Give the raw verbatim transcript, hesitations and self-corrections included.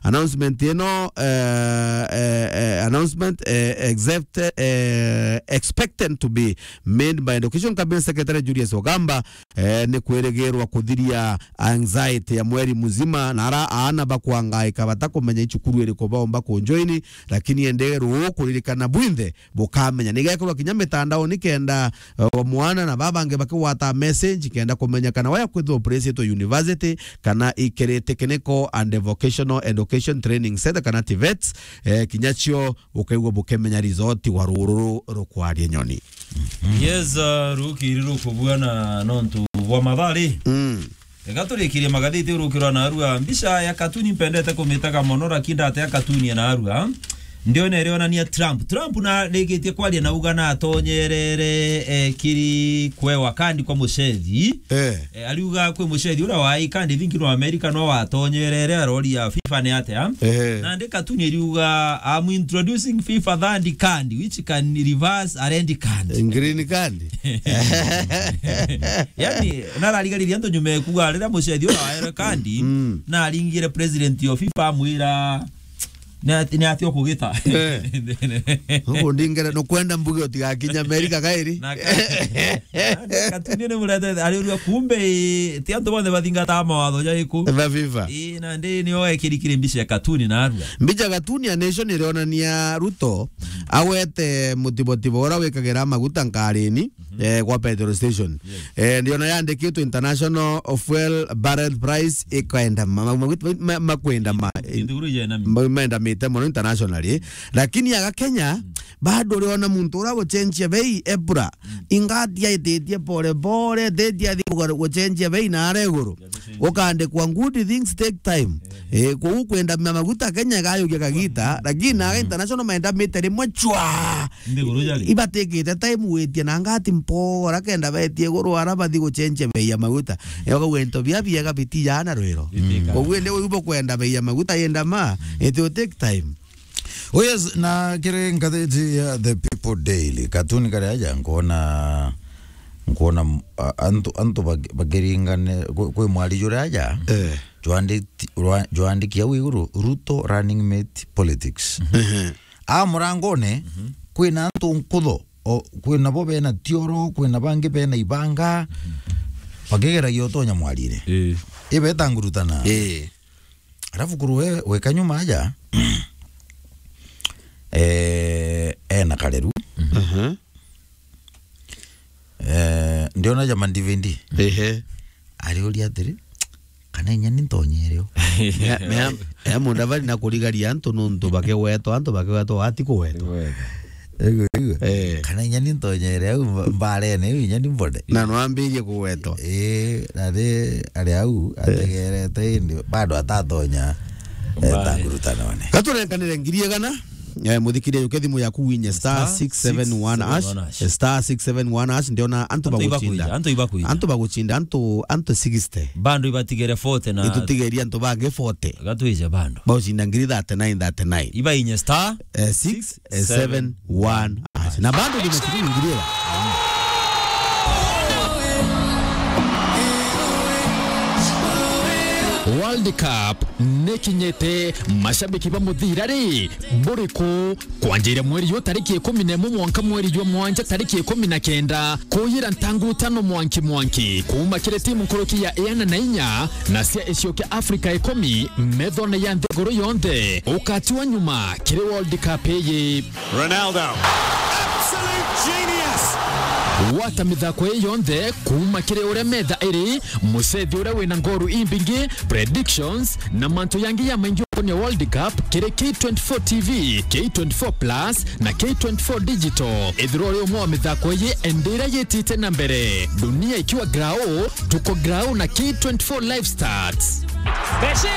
Announcement ino, eh, eh, eh, announcement, eh, except, eh, expected to be made by Education Cabinet Secretary Julius Ogamba, eh, ni kwirigirwa kuthiria anxiety ya mweri muzima, na ara aana bakwangaika batakumenya icukuru iriku baumba kunjoini, lakini ende ruu kuririkana bwinthe bukamenya. Nigekorwa kinya mitandaoni kenda, eh, mwana na babangi bakigwata message kenda kumenya kana waya kwithirwa upresitwe university kana ikiri technical and vocational education training center kana TVETs, eh, kinya cio ukaigua bukimenya result wa ruru rukwaria nyoni. Yes, uh, rukiri rukubua na nontu bwa mathari. Mm. Ega turikirie magathiti urukirwa na arua. Mbica ya katuni mpendete kumitaga mono, lakini ndate ya katuni ya na arua. Ndiona irionania Trump. Trump na rikitie kwaria na uga na atonyerere, eh, kiri kwewa kandi kwa mucethi. Eh. Eh, ariuga kwi mucethi uria wa kandi thingi no America no watonyerere aroria FIFA ni atia. Eh. Na ndi katuni iriuga, "I'm introducing FIFA third card, which can reverse a red card." Green card. Yani, nararigariria antu nyuma ekuga riria mucethi uria wa red card, mm, naringire president of FIFA amwira, "Ni ati, ni ati ukugita?" Eh. Ugu ndingere nukwenda mbuge utigakinya America kairi. Na ka-, na katuni ni murete, ariuria kumbe, ti antu bonthe bathingata mawatho jaiku. Ba FIFA. Ii, na ndi nio ekirikire mbica ya katuni na arua. Mbica katuni ya Nation irionania Ruto agwete mutibotibo uria wikagira maguta nkarini, eh, kwa petrol station. Yes. Eh, ndiona yandikitwe international fuel barrel price ikaenda ma-, ma-, ma-, ma-, makwenda ma-, Nthiguru ijena mi- ma-, maendamite mono internationally. Lakini aga Kenya, bado uriona muntu uria gucenjia bei ebura. Ingati aititie pole pole, teti athi kuga-, gucenjia bei na ara iguru. Gukandikwa good things take time. Eh, kuu kwenda ma-, maguta Kenya igayukia kagita, lakini na international maendamite rimwe chwa. Nthiguru jari. Ibatikite time witie na ngati mpora kenda betie iguru ara bathi gucenjia bei ya maguta. Yo kau into bia biega biti jana rwiro. Koguo indi uyu bukwenda bei ya maguta yenda ma, it will take time. Oh yes, na kiri ngathiti ya The People Daily, katuni karia aja nkuona, nkuona, a-, antu, antu bak-, bakiringane, kwi, kwi mwari juria aja, eh, jwanditi-, rwa-, jwandiki au iguru, "Ruto running mate politics." Mhm. A murangone, mhm, kwina antu nkutho, o, kwina bo bena tioro, kwina bangi bena ibanga, mhm, bakigeragia utonya mwarire. Eh. Ibeta ngurutana. Eh. Alafu kuru we, weka nyuma aja, eh, ena kareru. Mhm. Eh, ndiona ja Mandivindi. Ehe. Ariuria atiri, "Kana inya ni ntonyerio?" Mea, mea, mea Mudavadi na kurigaria antu nuntu bakigwetwa, antu bakigwetwa, ati kugwetwa. Kugwetwa. Igu, igu. Eh. "Kana inya ni ntonyere au mba-, mbarene iu inya ni mbone." Na no ambirie kugwetwa. Eh, na ri ari au, eh, ategerete indi, bado atatonya, eh, mbare, ta ngurutanone. Gaturenkanire ngiri igana, eh, muthikiria yuke thimu yaku winye star six seven one hash, star six seven one hash, ndiona antu bagucinda. Antu ibakwija, antu ibakwija. Antu bagucinda, antu, antu sixty. Bado ibatigere forty na itutigeria antu bangi forty. Gatwije bado. Bagucinda ngiri thirty-nine, thirty-nine. Iba inye star, eh, six, eh, seven one hash. Na bado ni mashiriki ngiri ira. World Cup nikinyite, mashabiki ba muthira ri, buriku? Kwanjira mweri yo tariki ikumi na imwe mwanka mweri jwa mwanja tariki ikumi na kenda, kuyira ntangutano mwanki mwanki, kuma kiri timu nkuruki ya iana na inya na cia icio kia Afrika ikumi, methone ya nthiguru yonthe. Ukati wa nyuma kiri World Cup iyi. Ronaldo. Absolute genius. Gwata mithako ii yonthe kuma kiri uria metha iri, mucethi uria wina ngoru imbingi, predictions, na mantu yangi ya maingi ukonia World Cup kiri K twenty-four T V, K twenty-four Plus, na K twenty-four Digital. Ethirwa uri umwe wa mithako ii, ende iria yitite na mbere. Dunia ikiwa grao, tuko grao na K twenty-four Live Stats. Messi!